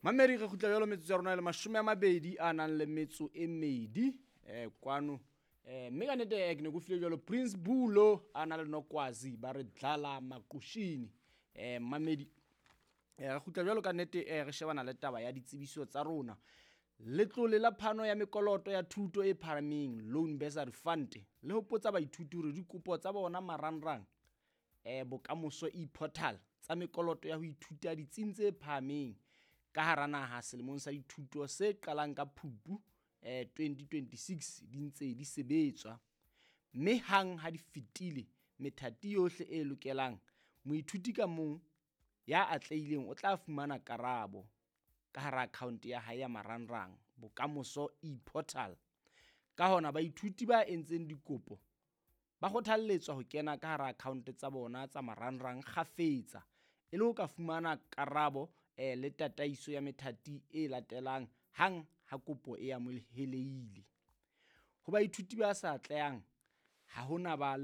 Mamedi, re kgutla jwalo metsotso ya rona e le 20 a nang le metso e medi kwano. Mme ka nnete ke ne ke o file jwalo Prince Bulo a na le Nokwazi ba re dlala maqushini. Mamedi, re kgutla jwalo ka nnete, re shebana le taba ya ditsebiso tsa rona. Letlole la phano ya mekoloto ya thuto e phahameng, Loan Bursary Fund, le hopotsa baithuti hore dikopo tsa bona marangrang Bokamoso e-portal tsa mekoloto ya ho ithuta ditsing tse phahameng ka hara naha selemong sa dithuto se qalang ka Phupu 2026 di ntse di sebetswa. Mme hang ha di fetile methati yohle e lokelang, moithuti ka mong ya atlehileng o tla fumana karabo ka hara akhaonte ya hae ya marangrang Bokamoso e-portal. Ka hona baithuti ba entseng dikopo ba kgothalletswa ho kena ka hara akhaonte tsa bona tsa marangrang kgafetsa e le ho ka fumana karabo le tataiso ya methati e latelang hang ha kopo e amohelehile. Ho baithuti ba sa atlehang ha ho na ba.